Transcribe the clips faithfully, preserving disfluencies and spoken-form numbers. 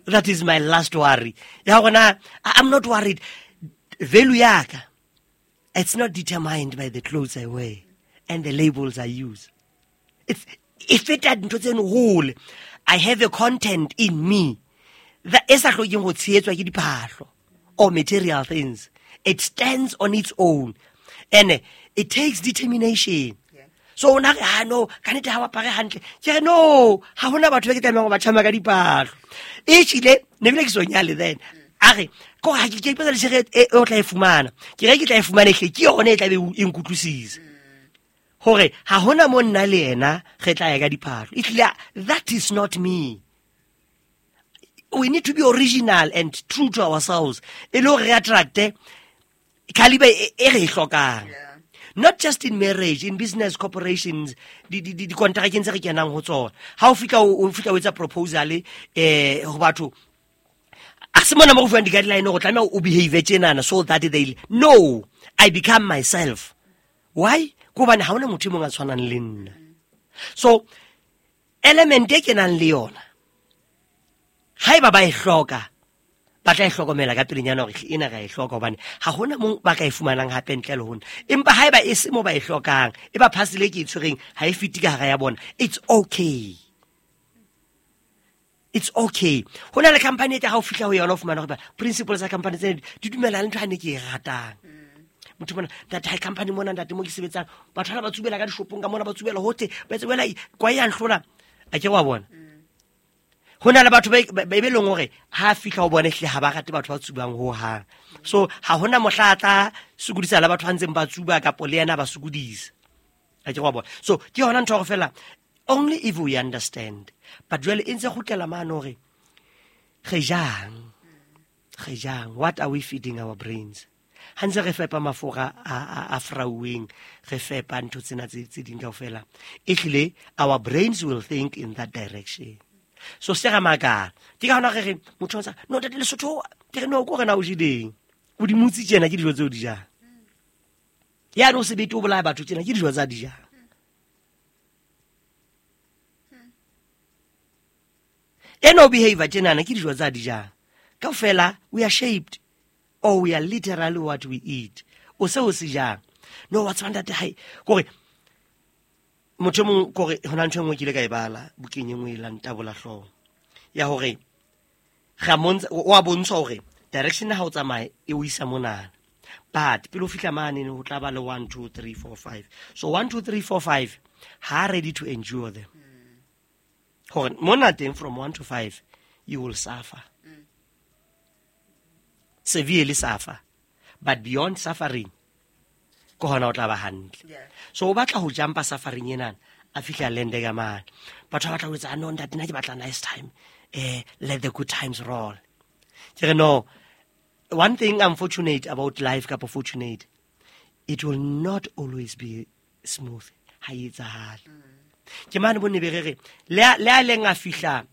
That is my last worry. Ya gona, I'm not worried. Value yaka, it's not determined by the clothes I wear and the labels I use. It's e feta dintho tseno hole. I have a content in me that e sa hlokeng go tshehetswa ke diphahlo or material things. It stands on its own, and it takes determination. So o na re, ah no, ka nnete ha o apare hantle. Ke re no, ha hona batho ba ke tlamehang ho ba tjhama ka diphahlo. E hlile, ne bile ke so nyale then. A re, ko ha ke ke ipotsa le tjhelete e o tla e fumana. Ke re ke tla e fumana ehle, ke yona e tla be e nkutlwisisa. Hore ha hona mo nna le yena re tla ya ka diphahlo. Ehlile, that is not me. We need to be original and true to ourselves. E le hore re attract-e caliber e e re e hlokang. Not just in marriage, in business corporations, di di di dikontrakeng tse re kenang ho tsona. Ha o fihla o fihla o etsa proposal eh ho batho, a se mona mo go fuwang di-guideline go tlameha o behave tjenana so that they no, I become myself. Why? Ke hobane ha hona motho e mong a tshwanang le nna. So element e kenang le yona, haeba ba e hloka, ba tla e hlokomela ka pelenyana hore ena ra e hloka, hobane ha hona mong ba ka e fumanang hape ntle le ho nna. Empa haeba e se mo ba e hlokang, e ba parcel e ke e tshwereng ha e fete ka hara ya bona, it's okay. It's okay. Ho na le company e tla ha o fihla ho yona o fumana hore principles tsa company tsena di dumela le ntho ha ne ke e ratang. Motho mona, ntate, ha company mona, ntate, mo ke sebetsang, batho bana ba tsubela ka dishopong ka mona, ba tsubela hohle, ba etsa wela kwa ya nhlola. A ke wa bona. Ho na le batho ba ba be leng hore ha fihla ho bona ehlile ha ba rate batho ba tsubang ho hang. So ha hona mohla a tla sokodisa le batho ba ntseng ba tsuba kapo le yena ba sokodisa. A ke wa bona. So ke yona ntho hore fela only if we understand. But jwale e ntse kgutlela mane hore re jang, re jang, what are we feeding our brains? Ha ntse re fepa mafura a, a, a frauweng, re fepa ntho tsena tse, tse ding kaofela, ehlile our brains will think in that direction. So se ra makala. Ke ka hona re re motho o ntsa, no ntate Lesotho, ke re no ko re na o jeleng. O di mutsi tjena ke dijo tseo di jang. Ya no sebete o bolaya batho tjena ke dijo tsa di jang. Eno behavior tjenana ke dijo tsa di jang. Kaofela we are shaped, or we are literally what we eat. O se o se jang. No wa tseba ntate hai, kore motho e mong kore hona ntho e nngwe ke ile ka e bala bukeng e nngwe e la ntabola hlooho ya hore ga montsha, o a bontsha hore direction ha o tsamaye e o isa monana, but pele o fihla mane ho tla ba le one two three four five. So one two three four five ha ready to endure them. Hore mona teng from one to five you will suffer. Severely suffer, but beyond suffering ke hona o tla ba hantle. So o batla ho jumpa suffering ena a fihla lende ka mane. Batho ba batla ho etsa no ntate nna ke batla nice time, eh let the good times roll. Ke re no, one thing I'm fortunate about life kapo fortunate, it will not always be smooth. Ha e etsahale. Ke mane bo ne be re re le a, le a leng a fihla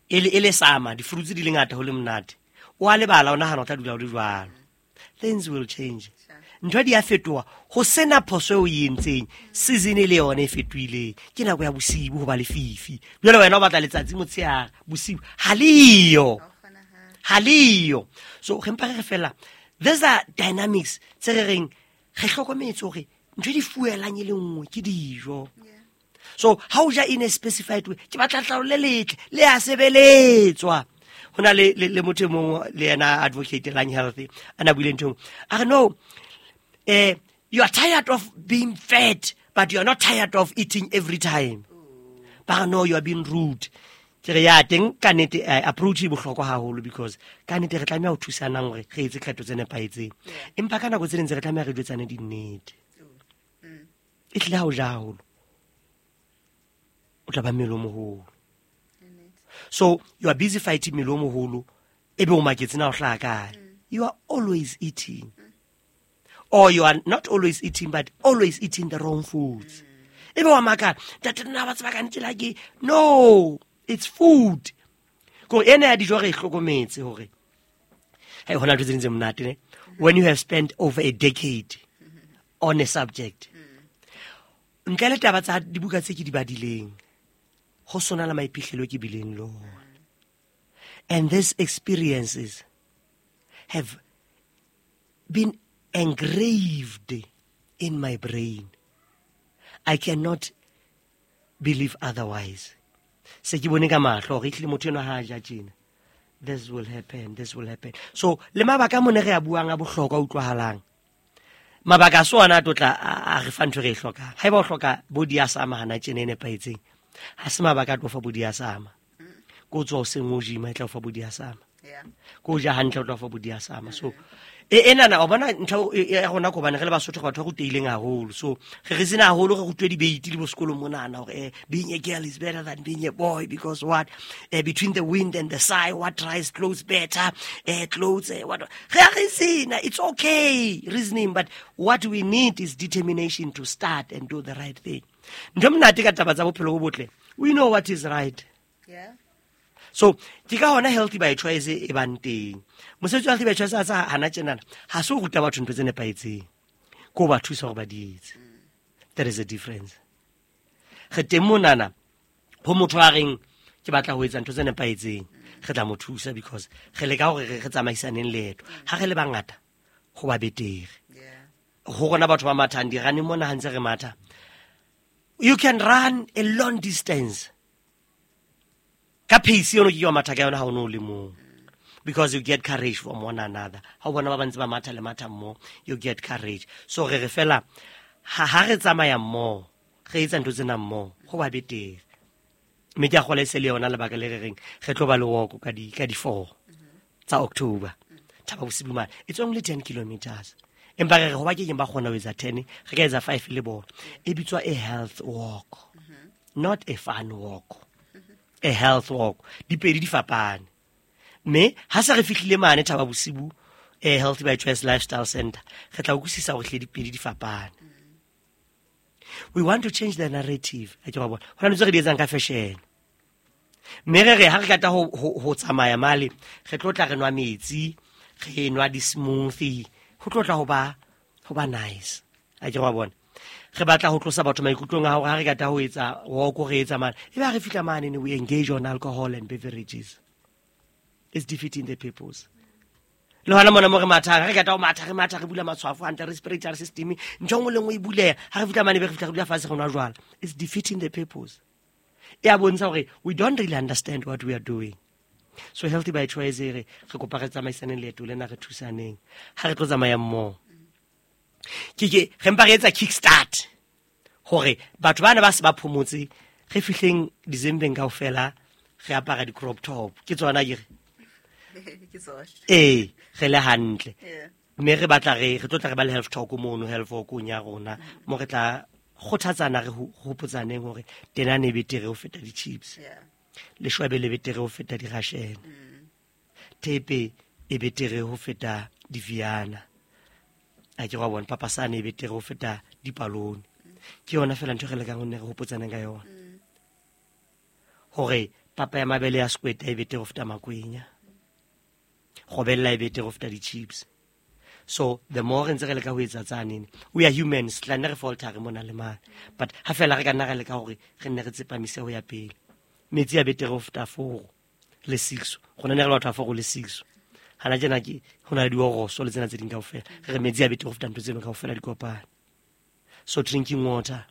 e le, e le sama di fruits di le ngata ho le monate, o a lebala o nahana o tla dula o le jwalo. Things will change. Ntho di a fetoha, ho sena phoso eo o e entseng, season e le yona e fetohileng. Ke nako ya bosibu ho ba lefifi. Jwale wena o batla letsatsi motshehare, bosibu ha leyo. Ha leyo. So re mpa re re fela, these are dynamics tse re reng re hlokometse hore ntho e di fuelang e le nngwe ke dijo. So ha o ja in a specified way, ke batla letlalo le letle, le a sebeletswa. Ho na le, le, le motho e mong le yena advocate lang healthy, a na buile ntho e nngwe. A re no, eh, you are tired of being fat, but you are not tired of eating every time. Ba re no, you are being rude. Ke re ya teng ka nnete, eh, approach e bohlokwa haholo, because ka nnete re tlameha ho thusanang hore re etse kgetho tse nepahetseng. Empa ka nako tse ding tse re tlameha re jwetsane dinnete. E hlile ha o ja haholo, o tla ba mmele o moholo. So you are busy fighting mmele o moholo, ebe o maketse na o hlaha kae. You are always eating. Or you are not always eating, but always eating the wrong foods. Ebe wa makala, ntate nna ba tseba ka nnete la ke. No, it's food. Ko ena ya dijo re e hlokometse hore, hey, hona ntho tse ding tse monate ne? When you have spent over a decade on a subject, ntle le taba tsa dibuka tse ke di badileng, ho sona le maiphihlelo ke bileng le ona. And these experiences have been engraved in my brain. I cannot believe otherwise. Se ke bone ka mahlo hore ehlile motho enwa ha a ja tjena, this will happen, this will happen. So le mabaka a mone re a buang a bohlokwa a utlwahalang, mabaka a so ona a tlo tla a re fa ntho e re e hlokang. Haeba o hloka body ya sama hana tjena e nepahetseng, ha se mabaka a tlo fa body ya sama. Ko tswa hoseng o gym-a e tla o fa body ya sama. Ko ja hantle o tla o fa body ya sama. So e enana o bona ntho ya rona ko bane re le Basotho batho ba rutehileng haholo. So re re sena haholo re rutwe debate le bo sekolong monana hore eh, being a girl is better than being a boy because what, eh, between the wind and the sigh, what dries clothes better, eh, clothes, eh, what re re sena. It's okay reasoning, but what we need is determination to start and do the right thing. Ntho monate ka taba tsa bophelo bo botle, we know what is right. Yeah. So ke ka hona Healthy by Choice e bang teng. Mosebetsi wa Healthy by Choice a tsa hana tjenana, ha se ho ruta batho ntho tse nepahetseng, ko ba thusa hore ba di etse. There is a difference. Re teng monana ho motho a reng ke batla ho etsa ntho tse nepahetseng, re tla mo thusa because re leka hore re tsamaisaneng leeto. Ha re le bangata ho ba betere. Ho rona batho ba mathang di-running mona ha ntse re matha, you can run a long distance ka pace eno ke wa matha ka yona ha o no le mong, because you get courage from one another. Ha o bona ba bantse ba matha le matha mmoho, you get courage. So re re fela ha ha re tsamaya mmoho, re etsa ntho tsena mmoho, ho ba betere. Mme ke a kgolwa e se le yona lebaka le re reng re tlo ba le walk ka di ka di four tsa October. Thaba Bosiu mane. It's only ten kilometers. Empa re re ho ba ke keng ba kgona ho etsa ten, re ka etsa five le bona. E bitswa a health walk, not a fun walk. A health walk. Dipedi di fapane. Mme ha se re fihlile mane Thaba Bosiu, eh, Healthy by Choice Lifestyle Center, re tla utlwisisa hore hle dipedi di fapane. We want to change the narrative. Ha ke wa bona. Hona ntse re di etsang ka fashion. Mme re re ha re kata ho, ho, ho tsamaya male, re tlo tla re nwa metsi, re nwa di-smoothie, ho tlo tla ho ba, ho ba nice. Ha ke wa bona. Re batla ho tlosa batho maikutlong a hore ha re kata ho etsa walk, re etsa mane. Ebe ha re fihla mane, we engage on alcohol and beverages. It's defeating the purpose. Le hona mona mo re mathang, re kata ho matha, re matha, re bula matshwafo hantle, respiratory system, ntho e nngwe le nngwe e buleha. Ha re fihla mane, be re fihla re dula fatshe re nwa jwala. It's defeating the purpose. E a bontsha hore we don't really understand what we are doing. So Healthy by Choice e re, re kopa re tsamaisaneng leeto lena, re thusaneng. Ha re tlo tsamaya mmoho. Ke ke re mpa re etsa kick start hore batho bana ba se ba phomotse, re fihleng December kaofela re apara di crop top. Ke tsona ke re. Ke tsona. Eh, re le hantle. Yeah. Mme re batla re, re tlo tla re ba le health talk mono, health walk ya rona, mo re tla kgothatsana, re hopotsaneng hore tenane e betere ho feta di-chips. Yeah. Leshwabe le betere ho feta di-ration. Mm. Thepe e betere ho feta di-viana. A ke wa bona papasane e betere ho feta dipalone. Ke yona fela ntho e re lekang ho nne re hopotsaneng ka yona. Mm. Hore papa ya mabele ya sekweta e betere ho feta makwenya. Kgobella e betere ho feta di-chips. So the more re ntse re leka ho etsa tsanene, we are humans, tla nne re falter mona le mane. But ha fela re ka nna ra leka hore re nne re tsepamise ho ya pele. Metsi a betere ho feta four le six. Rona ne re le batho ba four le six. Hana tjena ke ho na le dioroso le tsena tse ding kaofela. Re re metsi a betere ho feta ntho tseno kaofela di kopane. So drinking water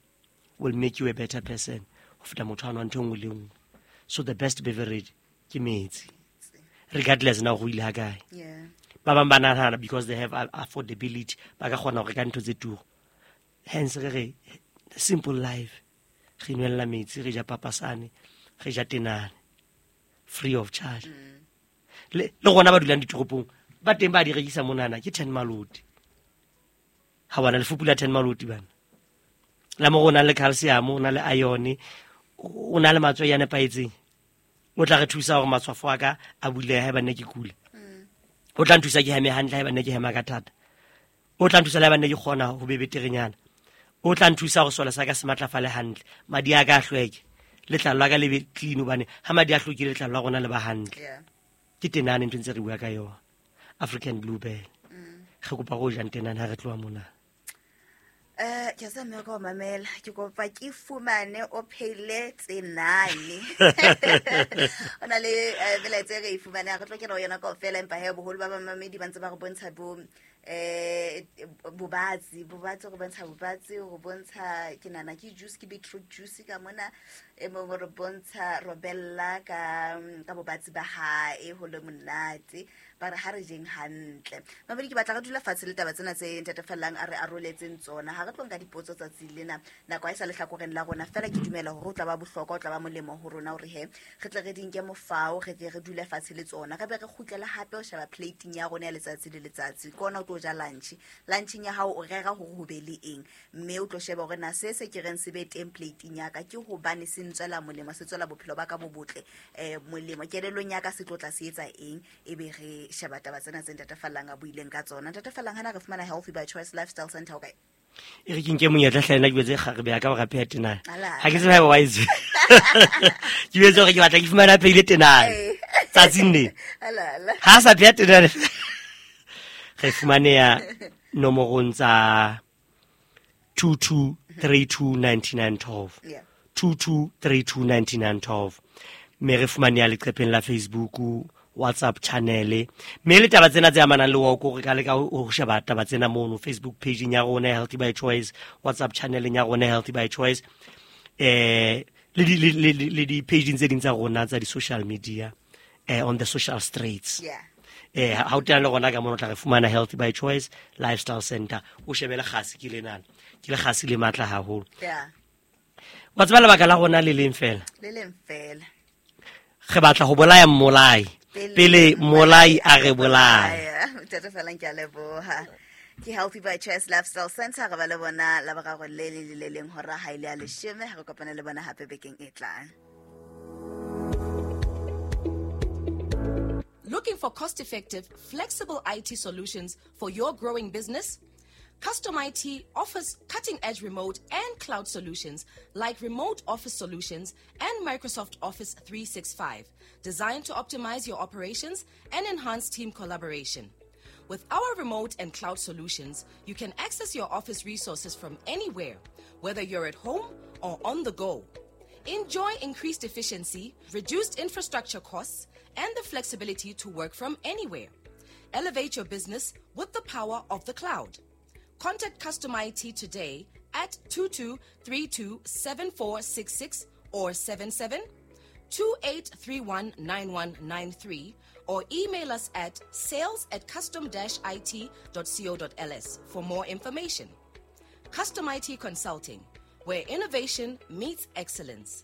will make you a better person ho feta motho a nwang ntho e nngwe le nngwe. So the best beverage ke metsi. Regardless na ho ile ha kae. Yeah. Ba bang ba nahana because they have affordability, ba ka kgona ho reka ntho tse turu. Hence re re simple life. Re nwella metsi, re ja papasane, re ja tenane, free of charge. Mm. Le, le rona ba dulang ditoropong, ba teng ba di rekisa monana ke ten maloti. Ha bona lefupu la ten maloti bana. La mo rona le calcium, o na le iron, o na le matswai a nepahetseng. O tla re thusa hore matshwafo a ka a bulehe haeba nne ke kula. O tla nthusa ke heme hantle haeba nne ke hema ka thata. O tla nthusa le haeba nne ke kgona ho be beterenyana. O tla nthusa hore sole sa ka se matlafale hantle. Madi a ka a hlweke. Letlalo la ka le be clean hobane ha madi a hlwekile letlalo la rona le ba hantle. Yeah. Ke tenane ntho ntse re bua ka yona. African Bluebell. Mm. Re kopa go ja tenane ha re tloha mona. Eh ke sa mme ka o mamela ke kopa ke fumane o pheile tsenane. O na le melaetsa e re e fumane re tlo kena ho yona kaofela, empa he boholo ba bamamedi ba ntse ba re bontsha bo eh bobatsi bobatsi go bontsha bobatsi go bontsha ke nana ke juice ke beetroot juice ka mona e mongwe re bontsha robella ka ka bobatsi ba hae ho le monate ba re ha re jeng hantle. Mamedi ke batla re dula fatshe le taba tsena tse ntatefellang a re aroletseng tsona ha re tlo nka dipotso tsatsi lena nako ha e sa lehlakoreng la rona fela ke dumela hore o tla ba bohlokwa o tla ba molemo ho rona hore he re tle re di nke mofao re tle re dule fatshe le tsona re be re kgutlela hape ho sheba plating ya rona ya letsatsi le letsatsi ke ona o tlo ja lunch lunching ya hao o rera hore ho be le eng mme o tlo sheba hore na se se ke reng se be teng plating ya ka ke hobane se ntswela molemo se tswela bophelo ba ka bo botle eh molemo kelellong ya ka se tlo tla se etsa eng e be re sheba taba tsena tse ntatefallang a buileng ka tsona. Ntatefallang hana re fumana Healthy by Choice Lifestyle Center o kae? E re ke nke monyetla hle nna ke betse kgarebe ya ka hore a pheha tenane. Ha ke tsebe haeba wa e tseba. Ke betse hore ke batla ke fumane a phehile tenane tsatsing lena. Ha a sa pheha tenane re fumaneha nomorong tsa two two three two nine nine twelve. two two three two nine nine twelve. Mme re fumaneha leqepheng la Facebook, WhatsApp channel mme le taba tsena tse amanang le woko re ka leka ho sheba taba tsena mono Facebook page ya rona Healthy by Choice, WhatsApp channel ya rona Healthy by Choice, eh le di le di page tse ding tsa rona tsa di social media eh on the social streets. Yeah. Eh ha o tena le rona ka mono tla re fumana Healthy by Choice Lifestyle Center o shebele kgasi ke lenana ke le kgasi le matla haholo. Yeah. Wa tseba lebaka la rona le leng fela le leng fela re batla ho bolaya mmolai pele molai a re bolaya. Ntate Fellang ke a leboha. Ke Healthy by Choice Lifestyle Center re ba le bona la boraro le le le leng hora ha ile ya leshome ha re kopane le bona hape bekeng e tlang. Looking for cost-effective, flexible I T solutions for your growing business? Custom I T offers cutting-edge remote and cloud solutions like remote office solutions and Microsoft Office three sixty-five, designed to optimize your operations and enhance team collaboration. With our remote and cloud solutions, you can access your office resources from anywhere, whether you're at home or on the go. Enjoy increased efficiency, reduced infrastructure costs, and the flexibility to work from anywhere. Elevate your business with the power of the cloud. Contact Custom I T today at two two three two seven four six six or seven seven two eight three one nine one nine three or email us at sales at custom dash I T dot co dot L S for more information. Custom I T Consulting, where innovation meets excellence.